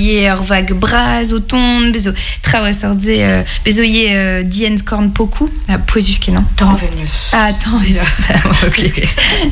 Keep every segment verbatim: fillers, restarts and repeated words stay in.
ye ur vag braz o tont, bezo traoù a sort ze, euh, bezo ye euh, dien skorn pokou, ah, pouezus kenan. Tañvenus. Ah, tañvet, ça, ok.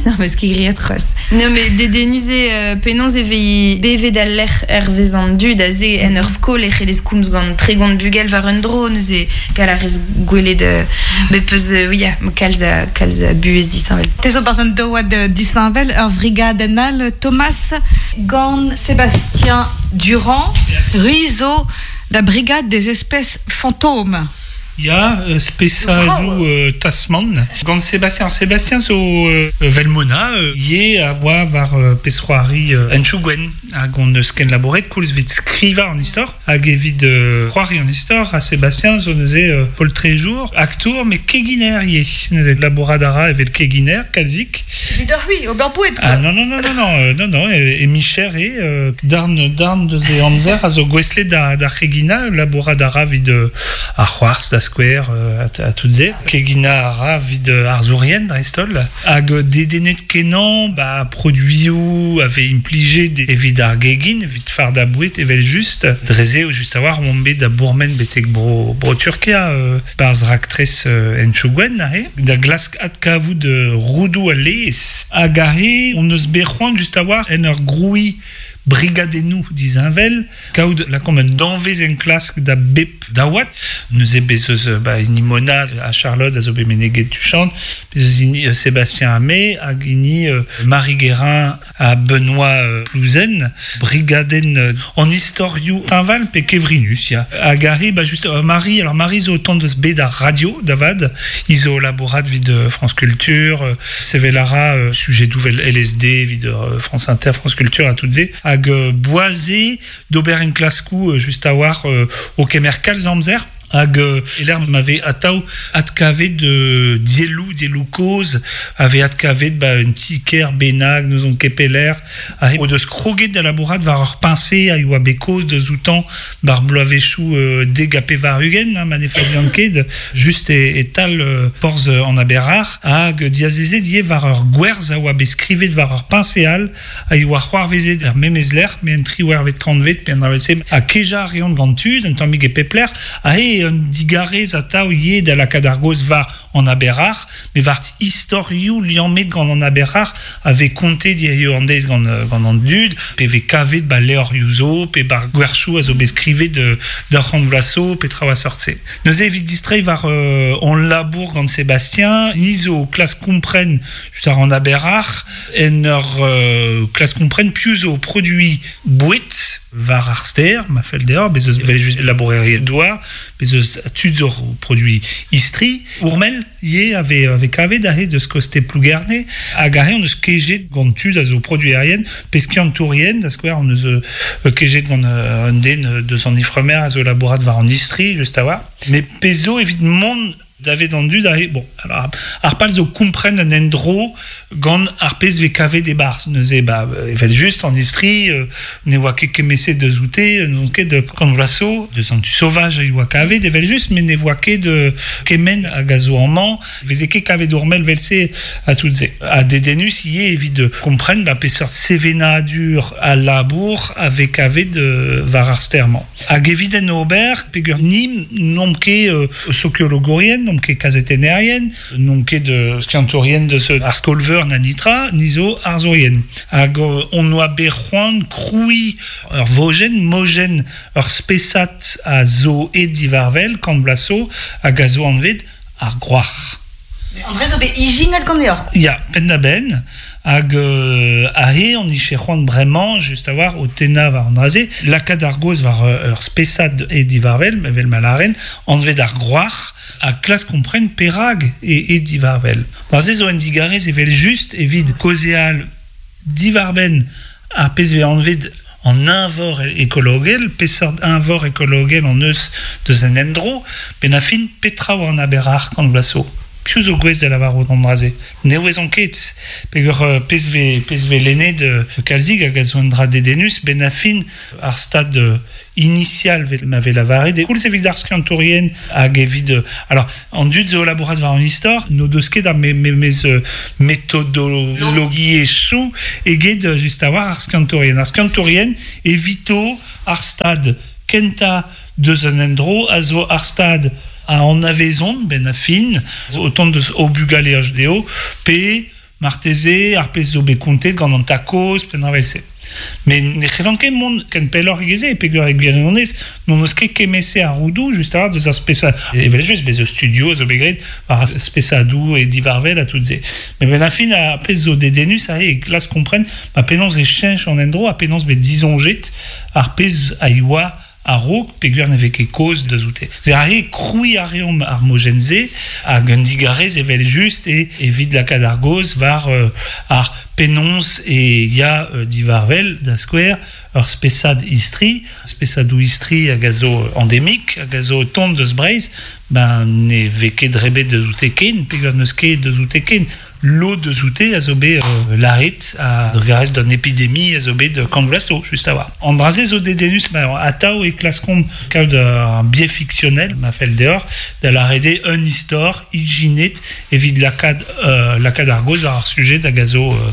Non, mais ce qui grille atroce. Non, mais dedennus eo euh, penaos e vez bevet al lec'h hervez an dud a ze en ur skol e c'hellez komz gant tregont bugel war un dro, neuze gall a rez gwelet euh, bet peus, euh, oui, ya, kalz a, kalz a buhez disheñvel. Te zo barzh un daouad disheñvel, ur vrigadenn all, Thomas gant Sébastien Durand, Ruizo, la brigade des espèces fantômes. Ya, euh, spesadoù euh, Tasman. Gant Sébastien, alors Sébastien zo euh, Velmona, euh, ye a oa war euh, pezh-c'hoari euh, Henchoù Gwenn, hag on eus ken labouret koulz evit skrivañ an istor, hag evit euh, c'hoari an istor, ha Sébastien zo neuze euh, poltrejour, aktour, met keginer ivez. Neuze labourat a ra evel keginer, kalzik. Evit ur c'hwi, ober boued, Ah non, non, non, non, non, euh, non, non, e, e micher eo, euh, darn, darn deus e amzer a zo gouestlet da, da c'heginañ, labourat a ra evit euh, ar c'hoarzh da skouer euh, a, a tout ze. Keginañ a ra evit euh, arzourien dreist-holl. Hag euh, dedennet kenañ, ba, produioù a vez implijet evit ar gegin, evit fardañ boued evel just. Dre-se eo just a-walc'h omp bet da bourmen betek bro, bro Turkia, euh, barzh raktres euh, Henchoù Gwenn, aze, da glask adkavout euh, roudoù al laezh. Hag aze, on eus bet c'hoant just a-walc'h en ur grouiñ brigadennoù disheñvel, kaout lakaomp un danvez enklask da bep daouad. Neuze bez eus ba, hini Mona ha Charlotte a zo bet meneget tuchant, bez eus hini euh, Sébastien Hamé hag hini euh, Marie Guérin ha Benoît euh, Plouzen, brigadenn euh, an istorioù teñval pe kevrinus, ya. Hag aze, ba, just, euh, Marie, alors Marie zo o tont deus bed ar radio, da vat, hi zo o labourat evit euh, France Culture, euh, sevel a ra euh, sujedoù 'vel L S D evit euh, France Inter, France Culture ha tout se, hag euh, boas eo d'ober enklaskoù euh, just a-walc'h euh, o kemer kalz amzer, hag euh, e-lec'h ma vez atav adkavet de dielloù, dielloù kozh, a vez adkavet ba, un ti-kêr bennak, n'ouzon ket pelec'h, hag o deus kroget da labourat war ur peñse a yoa bet kaoz deus outañ bar bloavezhioù euh, dek ha pevar-ugent, hein, ma ne fazian ket, just e, e-tal euh, porzh an Aber-Ac'h, hag diazezet ivez war ur gwerz a oa bet skrivet war ur peñse all, a yoa c'hoarvezet er memes lec'h, met en triwec'hvet kantved, pe an dra-se, ha kejañ a reont gant tud, un tammig e pep lec'h, aze un digarez atav ivez da lakaat ar gaoz war an Aber-Ac'h, met war istorioù liammet gant an Aber-Ac'h a vez kontet hiziv an deiz gant, euh, gant an dud, pe vez kavet ba levrioù zo, pe bar gwerchoù a zo bet skrivet euh, d'ar c'hant vloaz zo, pe traoù a sort-se. Neuze evit distreiñ war euh, hon labour gant Sébastien, ni zo klask kompren just ar an Aber-Ac'h, en ur euh, klask kompren piv zo produiñ boued war ar stêr, ma fell deoc'h, bez eus evel just labourerien douar, bez eus tud zo produiñ istri, Ourmel ivez a vez, a vez kavet aze deus koste Plougerne, hag aze on eus kejet gant tud a zo produerien, pe skiantourien, da skouer on eus, euh, kejet gant, euh, un den deus an Ifremer a zo labourat war an istri, just a-walc'h. Met pezh zo evit mont davet an dud aze, bon, alors, ar pal zo kompren un endro gant ar pezh vez kavet e-barzh. Neuze, ba, evel just, an istri, euh, ne oa ket kemese deus oute, n'on ket de kant vloaz zo, deus an tu sauvage a oa kavet, evel just, met ne oa ket de kement hag a zo amañ, veze ket kavet ourmel vel-se a tout se. Ha dedennus ivez evit kompren, ba, peseurt sevenadur a labour a vez kavet, euh, war ar stêr-mañ. Hag evit en ober, peogwir ni n'omp ket, euh, sokiologourien, n'omp ket kazetennerien, n'omp ket de skiantourien deus ar skol-veur na nitra, ni zo arzourien. Hag, euh, on oa bet c'hoant krouiñ ur vojenn, mojenn ur spesad a zo aet diwarvel, kant bloaz zo, hag a zo anvet ar gwrac'h. André zo bet ijinet ganeoc'h. Ya, penn-da-benn, hag, euh, aze on ije c'hoant bremañ, just a-walc'h, o tennañ war an dra-se, lakaat ar gaoz war, euh, ur spesad aet diwarvel, evel ma laren, anvet ar gwrac'h, ha klask kompren perak e aet diwarvel. Dra-se zo un digarez evel just evit kaozeal diwarbenn ar pezh vez anvet an eñvor ekologel, peseurt eñvor ekologel an eus deus an endro, benn ar fin petra war an Aber-Ac'h kant vloaz zo. Piv zo gouest da lavarout an dra-se. Ne ouezon ket, peogwir euh, pezh ve, pezh ve lennet euh, kalzig hag a zo un dra dedennus, ben a fin ar stad euh, initial vel ma ve lavaret, e koulz evit ar skiantourien hag evit... Euh, alors, an dud zo labourat war an istor, n'o deus ket ar me, me, mez euh, metodologiezhioù eget euh, just a-war ar skiantourien. Ar skiantourien evito ar stad kenta deus an endro a zo ar stad a anavezont, ben a fin, autant deus o bugale H D O, pe marteze ar pezh zo bet kontet gant an takoz, pen ar vel-se. Mais ne c'hellan ket mont ken pelloc'h egeze, e peogwir e gwirionez, n'on eus ket kemese ar roudou, just a deus ar spesa, evel just, bez eus studio a zo bet graet, war ar spesadou e divarvel a tout se. Mais ben a fin, ar pezh zo dedennus a e glas kompren, ma penaos e chench an endro, a penaos bet dizonjet ar pezh a ioa a-raok peogwir ne vez ket kaoz deus oute. Se a re kroui a reomp ar mojenn-se hag un digarez evel just e evit lakaat ar gaoz war euh, ar penaos e ya euh, divarvel da skouer ur spesad istri, spesadoù istri hag a zo endemik, hag a zo tont deus Breizh, ben ne vez ket drebet deus oute ken, peogwir n'eus ket deus oute ken. Lo deus oute a zo bet euh, laret a drugarez d'un épidémie a zo bet de kant vloaz zo, just a war. An dra-se zo dedennus, ben, atav e klaskomp kaout un biais fictionnel, ma fell deoc'h, da lâret eo un istor ijinet evit lakaat, euh, lakaat ar gaoz war ar sujet hag a zo, euh,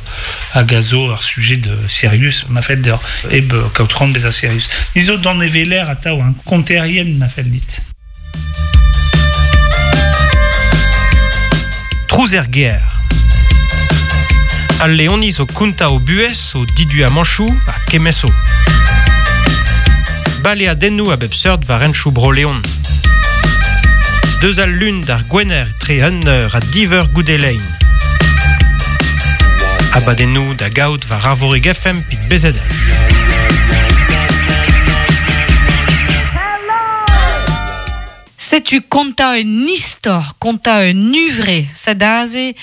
hag a zo ar sujet de sérieux, ma fell deoc'h, eb kaout c'hoant bezañ sérieux. Ni zo d'an eveler atav, un konterien, ma fell dit. Trouz er ger. Al Leoniz o konta o buhez, o didu a manchou, a kemeso. Bale a dennou a bep seurt war enchou bro Leon. Deus al lun d'ar gwener tre un eur a div eur goude lein. Abadennou da gaout war Arvorig F M pit B Z H. Setu konta un istor, konta un uvre, sadaze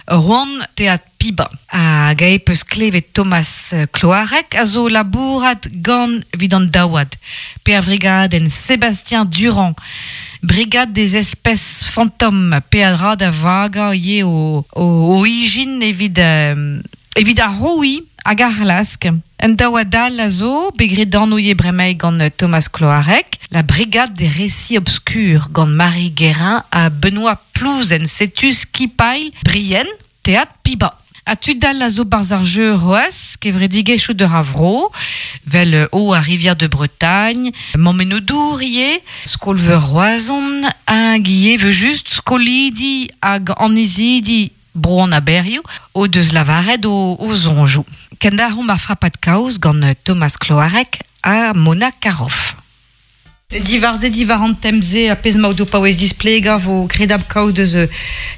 Roan teat piba. Hag ae peus klevet Thomas Cloarec a zo labourat gant evit an daouad. Pe ar vrigadenn Sébastien Durand, brigade des espèces fantômes, pe a dra da vaga ye o, o, o ijin evit, euh, evit ar roui hag ar lask. Un daouad all a zo, begret d'anouye bremañ gant Thomas Cloarec, la brigade des récits obscurs gant Marie Guérin ha Benoît Plouzen, setu skipail Brienne, théâtre Piba. A tud all a zo barz ar jeu roaz, kevredigezhioù de Ravro, vel o a Rivière de Bretagne, Mammennoù-dour ivez, Skolveur Roazhon, hag ivez veu just skolidi hag annezidi bro an aberioù, o deus lavaret o, o zonjoù. Kendaromp ar frapad kaoz gant Thomas Cloarec ha Mona Caroff. Divarze divar an temze a pezh ma o do paouez displegañ vo kredab kaoz deus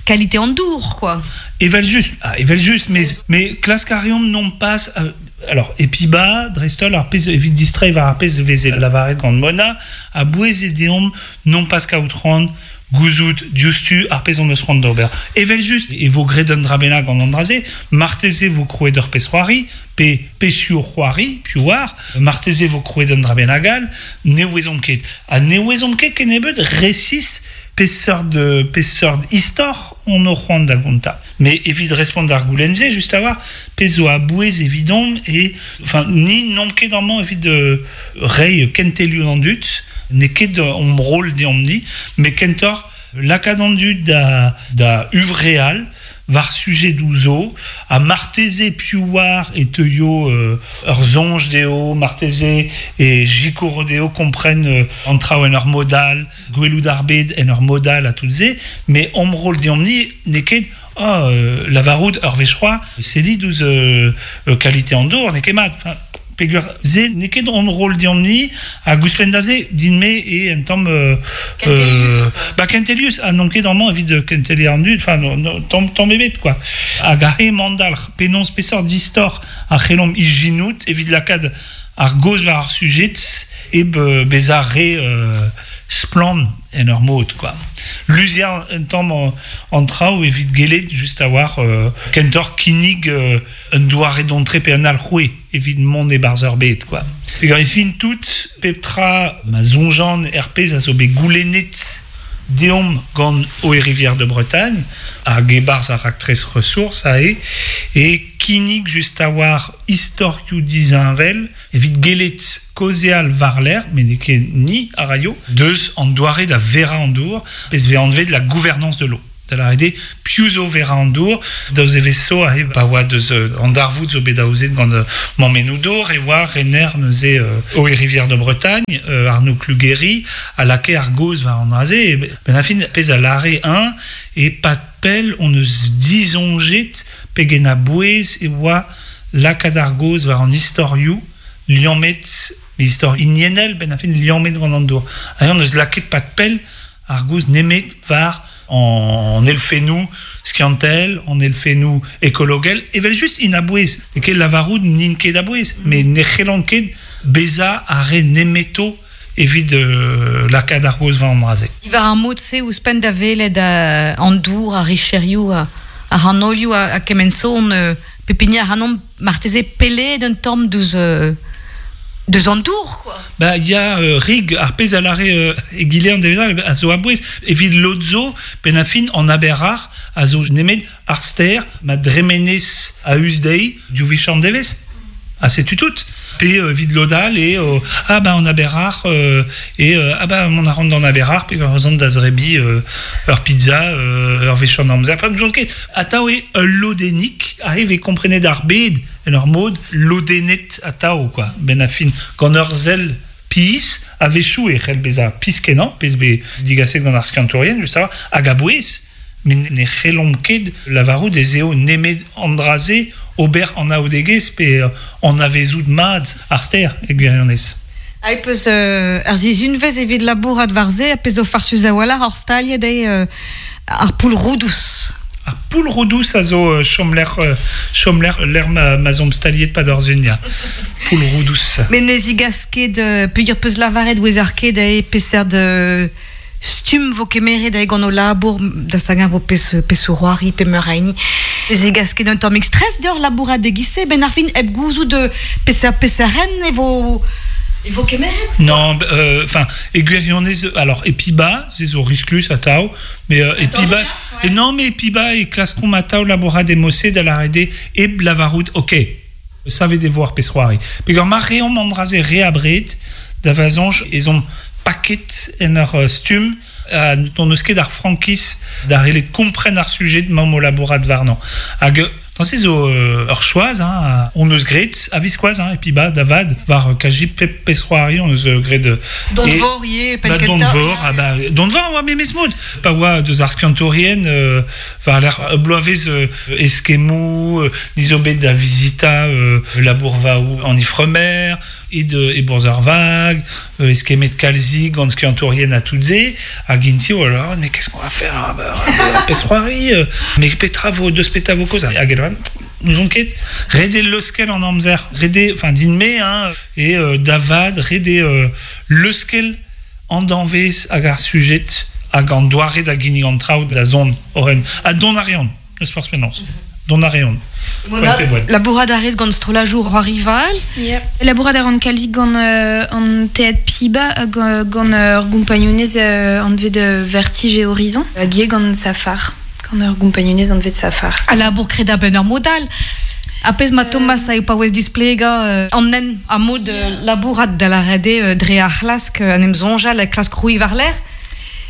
qualité an dour, quoi. Evel just, ah, evel just, mais, mais klask a reomp non pas, euh, alors, epiba, dreist-holl, ar pezh evit distreiñ war ar pezh veze lavaret gant Mona, a bouez e deomp non pas kaout c'hoant gouzout diouzhtu ar pezh on eus c'hoant d'ober. Evel just, e vo graet un dra bennak gant an dra-se, marteze vo krouet ur pezh c'hoari, pe pezhioù c'hoari, piv oar, marteze vo krouet un dra bennak all, ne ouezomp ket. Ha ne ouezomp ket kennebeut resis peseurt, peseurt istor on o c'hoant da gontañ. Mais evit respont d'ar goulenn-se, just a war, pezh zo a-bouez evidomp e, enfin, ni n'omp ket amañ evit, euh, reiñ kentelioù d'an dud, n'eo ket hon rôle deomp-ni, mais kentoc'h lakaat an dud da, da uvreal war sujet douzo, a marteze piv war e teuio, euh, ur soñj dezho, marteze e jikoro dezho kompren, euh, an traoù en ur modal, gwelout ar bed en ur modal a tout se, mais hon rôle deomp-ni n'eo ket ah, euh, lavarout ur wech c'hoazh, sellit ouzh, euh, euh, qualité an dour, n'eo ket mat. Enfin, peogwir se n'eo ket hon rôle deomp-ni, hag ouzhpenn da se, din-me e un tamm, euh, Kentelius. euh, ba, Kentelius, ha n'on ket amañ evit kentelier an dud, enfin, no, no, tamm, tamm ebet, quoi. Hag ar he mandalc'h, penaos peseurt distor a c'hellomp ijinout evit lakaat ar gaoz war ar sujet eb, euh, bezañ re, euh, splann en ur mod, quoi. Luziañ un tamm an, an traoù evit gellet just a war, euh, kentoc'h kinnig, euh, un doare d'entrée pe un alc'houez evit mont e-barzh ur bed, quoi. Peogwir e fin tout, pep tra ma soñjan er pezh a zo bet goulennet deomp gant Eau et Rivière de Bretagne, hag e-barzh ar raktres ressources ae, e kinnig just a war istorioù disheñvel, evit gelet kaozeal war-lerc'h, met n'eo ket ni a raio, deus an doare da vera an dour, pezh vez anvet la gouvernance de l'eau. Da lâret eo piv zo vera an dour, daouz e vezo aze pa oa deus an darvoud zo bet aozet gant mammennoù dour, e oa rener neuze euh, Eau et Rivière de Bretagne, euh, Arnaud Cluguéry, a lakae ar gaoz war an dra-se, e ben a fin pezh a lâre un, e pat pell on eus disoñjet pegen a-bouez e oa lakaat ar gaoz war an istorioù liammet, istor hiniennel, ben a fin liammet gant an dour. Hag on eus lakaet pat pell ar gaoz nemet war an elfennoù skiantel, an elfennoù ekologel, evel just int a-bouez. E ket lavarout n'int ket a-bouez, met ne c'hellont ket bezañ ar re nemeto evit euh, lakaat ar gaoz war an dra-se. Diwar ar mod-se ouzhpenn da welet euh, an dour, ar richerioù, ar c'hanolioù a, a kement son, euh, pep hini ac'hanomp marteze pellet un tamm deus, euh, deus an dour, quoi. Ba, ya euh, rig ar pezh a lâre euh, egile an devezh a zo a-bouez. Evit lod zo, penn a fin an aber-ar a zo nemet ar stêr ma dremenez a-us dezhi div wech an devezh. Ha setu tout. Pe euh, evit lod all e euh, ah ba an aber-ar euh, e euh, ah ba mont a ran d'an aber-ar pe gant da zrebi euh, ur pizza euh, ur wech an amzer. Pa n'ouzon ket. Atav eo ul lodennig arrive e komprenet ar bed en ur mod lodennet atav, quoi. Ben a fin gant ur sell pizh a-wechoù e c'hell bezañ pizh kenañ, pezh bet digaset gant ar skiantourien, just a hag a-bouez, met ne c'hellomp ket lavarout ez eo nemet an dra-se ober an aodegezh pe an avezout mat ar stêr e gwirionez. Hag peus euh, ar sizhunvezh evit labourat war-se, a pezh zo farsus a-walc'h hor staliet eo euh, ar poull Roudouz. Ar poull Roudouz a zo euh, chomlec'h, euh, chomlec'h lec'h ma, ma zomp staliet pa d'ar zun, ya. Poull Roudouz. Met ne zigas ket, euh, peogwir peus lavaret ouezer ket eo peseurt euh, stumm vo kemeret eo gant o labour da sagan vo pez, pez c'hoari pe meur a hini. Ne zigas ket un tammig stress deoc'h labourat e-giz-se, ben ar fin hep gouzout de peseurt peseurt ren e vo e vo kemeret. Non, enfin, euh, e gwirionez, alors, e piba, se zo risklus atav, mais euh, e piba, ouais. Et non, mais e piba e klaskomp atav labourat e mod-se da lâret eo hep lavarout, ok, savet e vo ar pezh c'hoari. Peogwir ma reomp an dra-se re abred, da va soñj ez omp paket en ur stumm a n'hon eus ket ar frankiz da c'hellet kompren ar sujet mamm o labourat warnañ. Hag Dans se zo euh, ur choaz, hein, on eus graet a-viskoazh, hein, e piba da vad, war kaji pep pezh c'hoari, on eus graet... Don vor ivez, penn kentañ. Don vor, ah ba, don vor, oa memes mod. Pa oa deus ar skiantourien, euh, war l'er bloavezh euh, eskemmoù, euh, ni zo bet da vizita euh, labourvaoù an Ifremer, e de e bourzh ar vag, euh, eskemmet kalzik gant skiantourien a tout se, hag inti, oh là, mais qu'est-ce qu'on va faire, ah, bah, pezh c'hoari, euh, mais petra vo, deus petra vo kaoz, hag n'ouzon ket, ret eo leuskel an amzer, ret eo, enfin din-me, hein, e euh, da vat, ret eo euh, leuskel an danvez hag ar sujet hag an doare da ginnig an traoù da zont oren. Ha dont a reont, eus forzh penaos. Dont a reont. Labourat a rez gant strollajoù rival. Yeah. Labourat a ran kalzik gant euh, an Théâtre Piba gant ur gompagnunez euh, anvet Vertige et Horizon, hag ivez gant Safar. Gant ur gompagnunez anvet Safar. A labour kredabl en ur mod all. A pezh ma Thomas a eo paouez displegañ euh, an nen a mod euh, labourat da lâret eo euh, dre ar c'hlask an em soñjal a klask krouiñ war-lerc'h.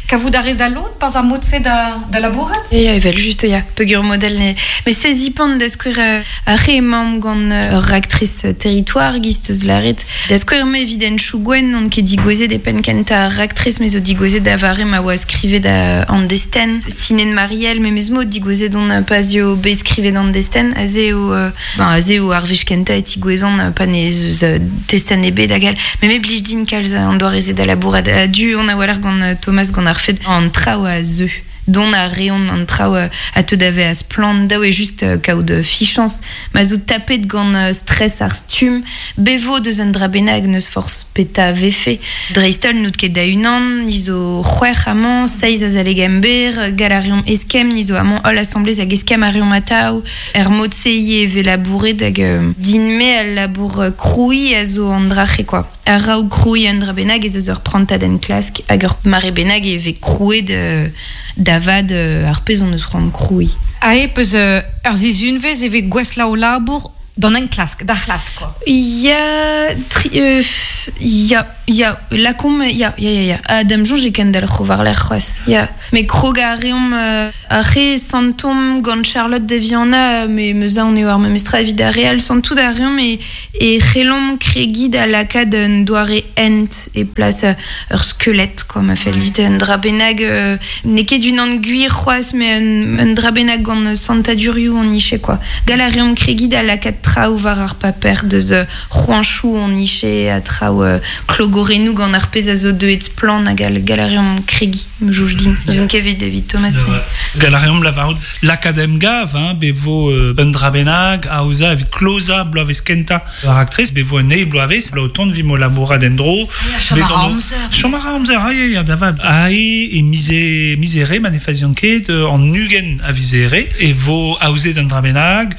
Kavout a rez da lod pas ar mod-se da, da labourat? Ya, evel just, ya, peogwir model ne... Mais sezi pan da skouer euh, ar re emaomp gant ur raktres territoire giz teus lâret. Da skouer me evit en chougwen on ket digouezet e penn kentañ ar raktres me zo digouezet da vare ma oa skrivet da an destenn. Sinen Marielle memes mod digouezet on pazio bet skrivet an destenn. Aze eo, euh, ben, aze eo ar wech kentañ e tigouezan pa ne eus testenn ebet hag all. Me me blij din kalz an doare se da labourat. A-du on a walc'h gant Thomas gant ar fed an traoù a zeu. Dont a reont an traoù a te dave a splann daou e just kaout fichañs. Ma zo tapet gant stress ar stumm, bevo deus an dra bennak n'eus forzh petra vefe. Dreist-holl n'out ket da unan, ni zo c'hwec'h amañ, seizh azaleg emberr, gall a reomp eskemm, ni zo amañ holl asamblez hag eskemm a reomp atav. Er mod-se ivez e vez labouret hag din-me al labour krouiñ a zo an dra-c'he, quoi. Ar raou kroui un dra bennak ez eus ur prantad en klask hag ur mare bennak e vez krouet euh, davad euh, ar pezh on eus c'hoant kroui. A e peus euh, ur zizunvez e vez gwesla o labour d'an en klask, d'ar c'hlask, quoi. Ya, tri, euh, ya, ya, lakom, ya, ya, ya, ya. A dam jonge e kendal c'hovar l'air c'hoaz, ya. Mais krog a reomp euh, a re santom gant Charlotte Daviana, me meus on eo ar memestra evit ar real santout a reomp e, e c'hellomp kregi da lakad un doare ent e plas euh, ur skelet, quoi, ma fel dit un dra bennak, euh, n'eo ket un an gwir c'hoaz, mais un, un dra bennak gant santadurioù on iche, quoi. Gal a reomp kregi da lakad traoù war ar paper deus euh, c'hoanchoù on iche a traoù euh, klogorennoù gant ar pezh a zo deuet splann hag al gal a reomp kregi, me jouj din. Eus an kevet David Thomas. Mais... Gal a reomp lavarout l'akadem gav, hein, bevo euh, un dra bennak, aoza evit kloza bloavez kenta ar aktrez, bevo un eil bloavez, la oton vimo labourat endro. Chom a ra amzer. Chom a ra amzer, ah, ya, ya, davad. Ae e mize, mizere manefazion ket, euh, an nugen a vizere, e vo aozet un dra bennak,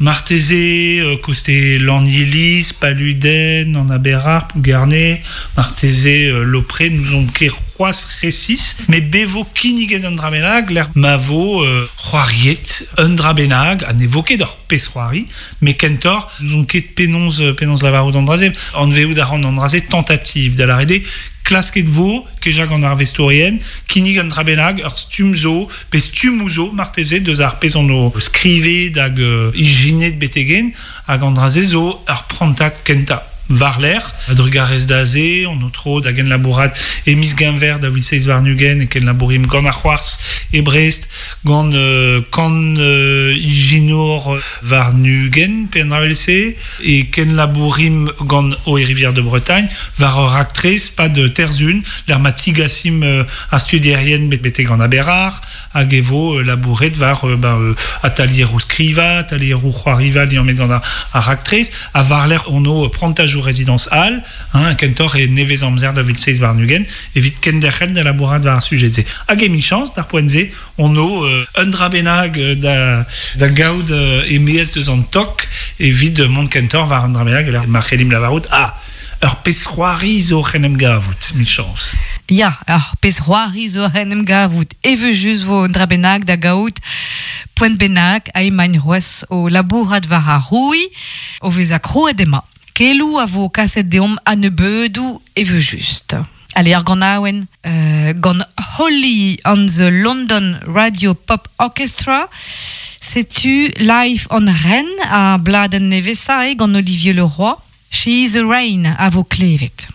Marteze, euh, koste Lannilis, Paluden, an Aberard, Plouguerné, Marteze, euh, Lopré, nous on ket c'hoaz resis, mais bevo kinniget an dra bennak, l'air ma vo euh, c'hoariet un dra bennak, a ne vo ket ur pezh c'hoari, mais kentor, nous on ket penonz, penonz lavarout an draze, an veout a ran an draze tentative da l'arede, klasket vo, kejag an arvestorien, kinnig an dra bennak, ur stumm zo, pe stumm zo, marteze, deus ar pezh an o skrive hag euh, ijinet betegen, hag an draze zo ur prantad kenta. War l'air, a drugarez da ze, on o tro da gen labourat e miz genver da vil seiz war nugen, e ken labourim gant ar c'hoarz e Brest, gant euh, kan euh, ijinour war nugen, pe an dra e ken labourim gant o e Rivière de Bretagne, war ur aktrez, pa de terzun, l'er ma tigasim euh, a studierien bet bete gant aberar, hag e vo euh, labouret war euh, ben, euh, atalier ou skriva, atalier ou c'hoariva liammet gant ar, ar aktrez, a war l'air on o prantaj résidence Hall, hein, kentor e nevez amzer da vil seiz war nugen, evit kenderc'hel da labourat war ar sujet ze. Hag e chance, d'ar poent ze, on o euh, un dra bennak euh, da, da gaout euh, e meez deus an tok evit mont kentor war un dra bennak, e ma c'hellim lavarout, ah, ur pezh c'hoari zo c'hen em gavout, mi chance. Ya, ur pezh c'hoari zo c'hen em gavout. Eve just vo un dra bennak da gaout poent bennak a emañ c'hoazh o labourat war ar roui, o vez a krouet ema. Kelou a vo kaset deomp a nebeudou eve just. Allez, ar gant aouen, euh, gant Holly on the London Radio Pop Orchestra, setu Live on Rennes a bladen nevesa e gant Olivier Leroy. She is a Rain a vo klevet.